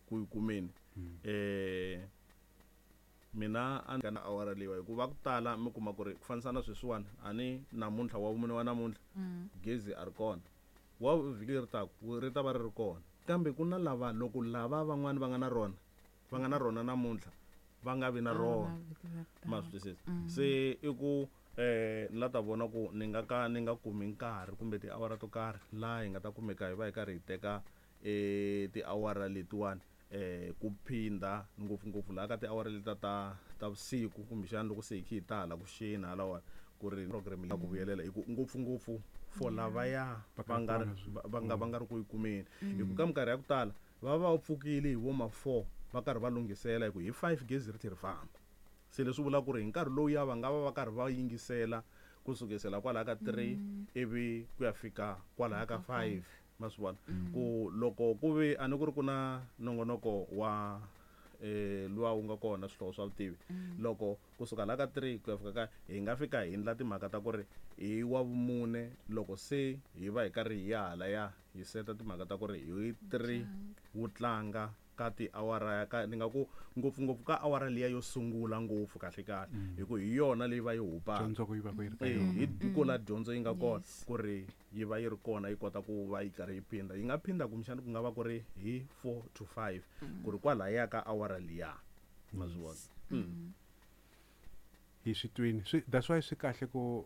Ku yi kumeni. Mina a ni na awara leyiwa, hikuva ku tala mi kuma ku ri ku fanisa na sweswiwani, a ni namuntlha wa vumune wa namuntlha gezi a ri kona, wa vhiki leri taku ri ta va ri ri kona, kambe ku na lava loko lava van'wani va nga na rona, va nga na rona namuntlha, va nga vi na rona. Ma swi twisisa? Se i ku ni la ta vona ku ni nga ka ni nga kumi nkarhi kumbe tiawara to karhi laha hi nga ta kumeka hi va hi karhi hi teka tiawara letiwani ku phinda ngopfungopfu laha ka tiawara leti ta vusiku, kumbexana loko se hi kha hi ta hala ku xeni halawani, ku ri program ya ku vuyelela hi ku ngopfungopfu for lavaya va nga ri va nga ri ku yi kumeni, hi ku ka minkarhi ya ku tala va va pfukile hi vo ma 4, va karhi va lunghisela hi ku hi 5 gezi ri tlhe ri famba. Se leswi vula ku ri hi nkarhi lowu ya va nga va va karhi va yingisela kusukisela kwalaya ka 3 ivi ku ya fika kwalaya ka 5. Ma swi vona ku loko ku ve a ni ku ri ku na nongonoko wa luwa wu nga kona, Swihlovo swa Vutivi, loko kusuka la ka 3 ku ya fika ka, hi nga fika hi endla timhaka ta ku ri hi wa vumune loko se hi va hi karhi hi ya halaya, hi seta timhaka ta ku ri hi 3 wu tlanga ka tiawara ka ni nga ku ngopfungopfu ka awara liya yo sungula ngopfu kahle kahle, hi ku hi yona leyi va yi hupaka. Dyondzo ku yi va ku yi ri ka yona. Hi ko la dyondzo yi nga kona, ku ri yi va yi ri kona, yi kota ku va yi karhi yi phinda, yi nga phinda kumbexana ku nga va ku ri hi 4 to 5, ku ri kwalaya ka awara liya. Ma swi vona? Hi swi twini. That's why swi kahle ku